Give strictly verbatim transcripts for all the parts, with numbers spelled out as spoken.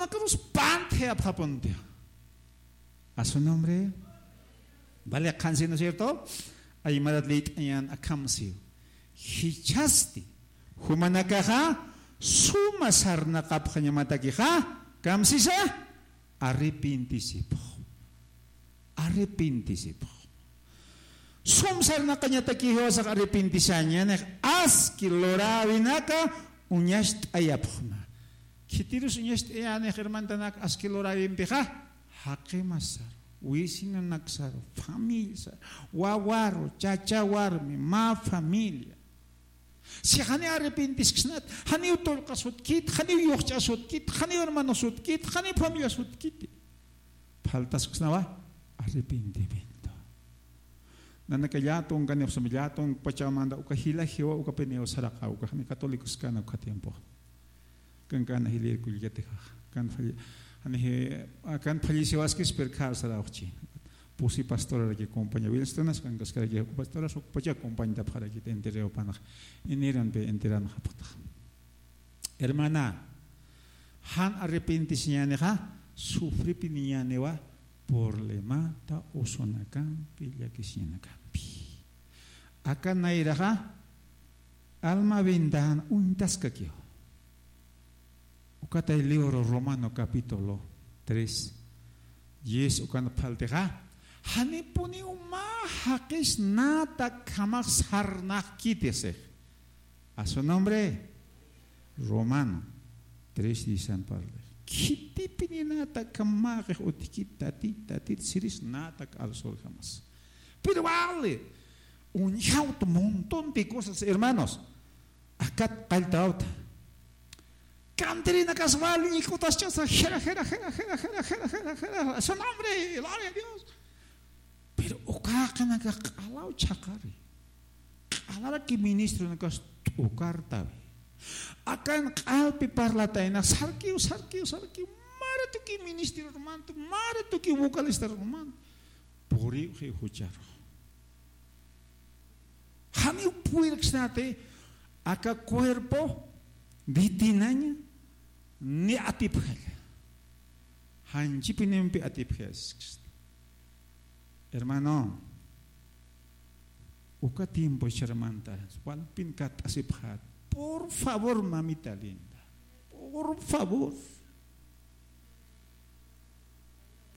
Cruz panthe apxapunti. A su nombre. Vale, qhansi, ¿no es cierto? Aymarat liyt'añan akham siw. Jichhasti jumanakaxa suma sarnaqapxañamatakixa, ¿kamsisa? Arrepintisipxu. Arrepintisipxu. Sum sarnaqañataki jiwasax arrepintisañanix, aski luräwinaka uñacht'ayapxma. Khitirus uñacht'ayänix hermantanak aski luräwimpixa, jaqimasaru, vecinonaksaru, familiasaru, wawaru, chacha warmi, mä familia. Si janiw arrepintisksnat, janiw tullqasutkit, janiw yuxch'asutkit, janiw hermanosutkit, janiw familiasutkiti. Faltasksnawa arrepentimiento. Nanaka llätunkanipxsma, llätunkpachamanda uka jila jiwa ukapiniw saraqa, uka jani católicos kana uka tiempo. Kankana jilïr kullkatixa. Kan falli-, jani ji-, kan falleciwaskis, pero khar sarawxchi. Pusi pastoraraki compaña. Wilstonas kankaskaraki pastoras ukpacha compañtapxaraki enterreo panax. Iniranpi enteranxapxtax. Hermana, jan arrepentisiñänixa, sufripiniñäniwa problemata usunakampi, llakisiñanakampi. Aka nayraxa, alma bendäna uñtaskakiw. Ukatay libro Romano capítulo tres, diez ukan phaltixa, janipuniw mä jaqis nätakhamax sarnaqkiti six. A su nombre, Romano tres diez an parlix. Khitipini nätakham mäxix utjkit, tatit, tatit, siris nätak arsurjamas. Pero vale, uñjawt montón de cosas, hermanos. Akat qalltawta. Cantirinakas wal ñikutas chasa, jera, jera, jera, jera, jera, jera, jera, jera, su nombre, gloria a Dios. Pero uka jaqinakax q'alaw chhaqari. Q'alaraki ministronakas t'ukartawi. Akan q'alpi parlatayna, sarkiw, sarkiw, sarkiw, maratuki ministerorumanta, maratuki vocalistarumanta. Puriw jiw jucharu. Janiw purirksnati aka cuerpo ditinaña ni atipjalla. Janchipinimpi atipjasksna. Hermano, uka tiempo charmanta, walpin kat'asipxat. Por favor, mamita linda. Por favor.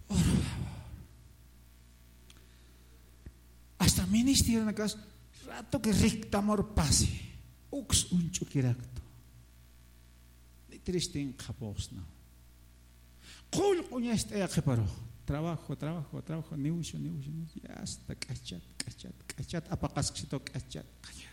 Por favor. Hasta ministerionakas ratoki riktamur pasi. Uks uñch'ukiraktu. Ni tristin qhapuxsna. Qullq uñacht'aya qhiparux. Trabajo, trabajo, trabajo, negocio, negocio, negocio. Ya hasta k'achat, k'achat, k'achat, apaqasksitu k'achat, k'achat.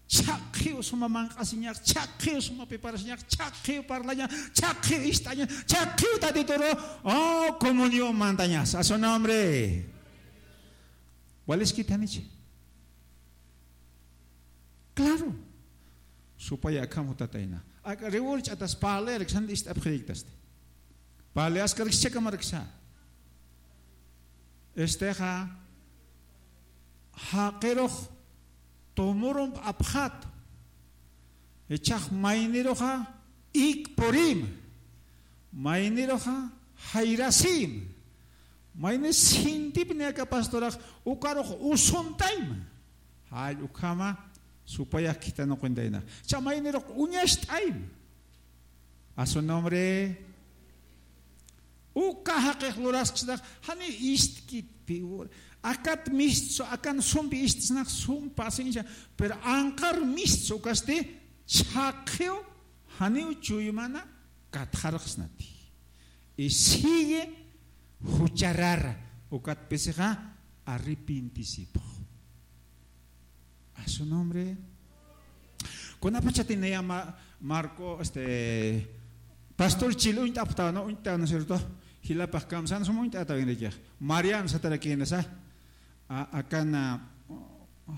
Chhaqhiw suma manq'asiñax, chhaqhiw suma piparasiñax, chhaqhiw parlañax, chhaqhiw ist'añax, chhaqhiw tatituru, oh, comunión mantañas. A su nombre. ¿Waliskit janichi? Claro. Supaya akham jutatayna. Aka riwur ch'atas parlayariksan ist'apxiriktasti. Parlayaskariksa chhakamariksa. Estexa, jaqirux tumurump apxat. Ichhax mayniruxa ikpurim. Mayniruxa jayrasim. Mayni sintipni aka pastorax ukarux usuntayma. Jall ukhama supayax khithanuqintayna. Cha maynirux uñacht'ayma. A su nombre. Uka jaqix lurasksnax, jani istkit piwur. Akat mistsu, akan sumpi istsnax, sum paciencia. Pero anqar mistsu ukasti, chhaqhiw, janiw chuymana, katxarxsnati. Y sigue jucharara, ukat pisixa, arrepintisipxu. A su nombre. Kunapachatini ya Ma-, Marco, este, Pastor Chil uñt'apxtawa, ¿no? Uñt'awa, ¿no es cierto? Jilapax kamsan sum uñt'atawinrikix. Marian satarakinasa. A, akan, a,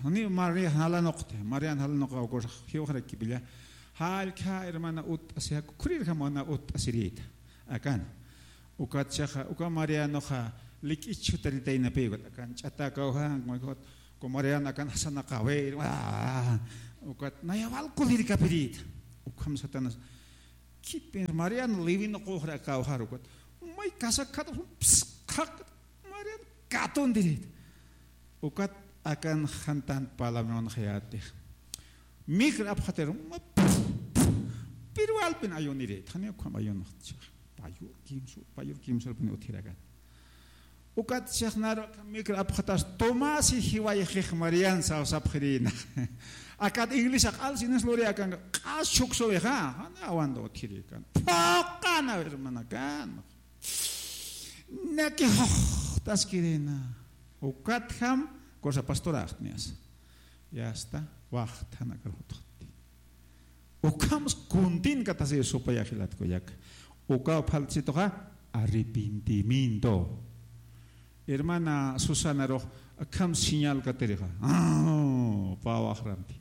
ni Marian jalanuqti, Marian jalanuqa ukur jiwxarakipilla. Jallkha hermana utt'asixa, kukhurirjamana utt'asirita. Akan. Ukat chaxa, uka Marianoxa lik'ich jutaritaynapiwat. Akan ch'atakawja, Ku Mariano akan jasanaqawir, ah, ukat naya wal kulirkapirïta. Ukham Satanás. Khitpin Marian Levin quxra kawjar ukat. May kasakhat psqhaq Marian katundirit. Ukat akan jantan palabran jayatix. Mikr apxatir, ma, pero alpin ayunirit. Jani ukham ayunxtcha. Payur kimsur, payur kimsur pin uthirakan. Ukat sixnar mikr apxatas Tomás y jiwayxix Marian sawsapxirina. Akat iglesia q'al sinis luri akan q'as chuksuwixa. Jani awanda uthirikan. Phoqana hermanakan. Naki juxtaskirina. Ukatjam cosa pastoraxtnias. Ya está. Waxtana karutxti. Ukhams kuntin katasi supayaxilatku yak. Ukaw phaltsituxa arrepentimiento. Hermana Susana rux akham señal katirixa. Ah, pawaxrampi.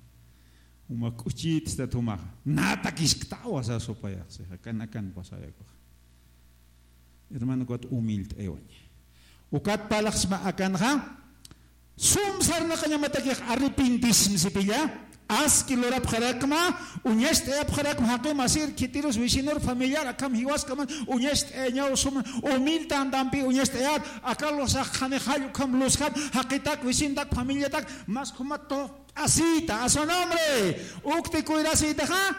Uma k'uchit sta tumaxa. Nata kisktawa sa supayaxsixa. Kan akan pasayakuxa. Hermano, ukat humilde ewaña. Ukat palaxsma akanxa, sum sarnaqañamatakix arrepentismsipilla, aski lurapxarakma, uñast'ayapxarakma, jaqi masir, khitirus, vecinor, familiar, akham jiwaskaman, uñast'ayañaw sum, humilde andampi, uñast'ayar, akal lusax, jani jall, ukham lusxam, jaqitak, vecintak, familiatak, mas khuma tuqt'asita, a su nombre, ukti cuidasitaxa,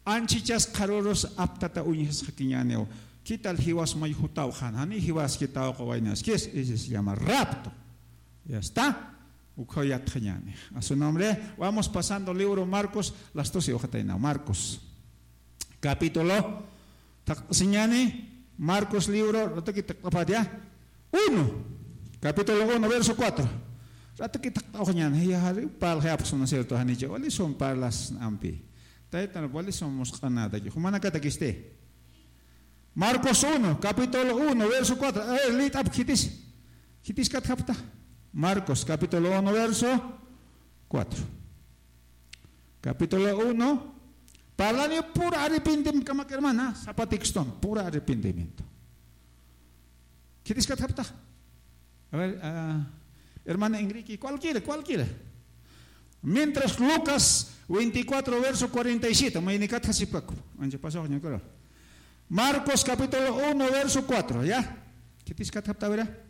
Anchichas qharürus aptata uñjasxakiñäniw. ¿Qué tal jiwas may jutaw jan? Jani jiwas jitaw qawaynaskis. Ese se llama rapto. Ya está. Ukhaw yatxañäni. A su nombre. Vamos pasando libro Marcos. Las doce hoja taina. Marcos. Capítulo. Taqsiñäni. Marcos libro. Rataki taqaparia. Uno. Capítulo uno, verso cuatro. Rataki taqapañäni. Ya jari. Pal japsuna cierto. Janicha. Wali son parlas ampi. Taytan wali son musq'anataki. Jumanakatakisti. Marcos uno, capítulo uno, verso cuatro. A ver, lit'ap khitis. Khitis katjapta. Marcos, capítulo uno, verso cuatro. Capítulo uno. Parlani pura arrepentimiento, hermana. Sapa texton, pura arrepentimiento. Khitis katjapta. A ver, ah, hermana Enrique, cualquiera, cualquiera. Mientras Lucas veinticuatro, verso cuarenta y siete, mayni katjasipkaku. Ancha pasaxña kura. Marcos capítulo uno, verso cuatro, ¿ya? Khitis katjapta, a ver.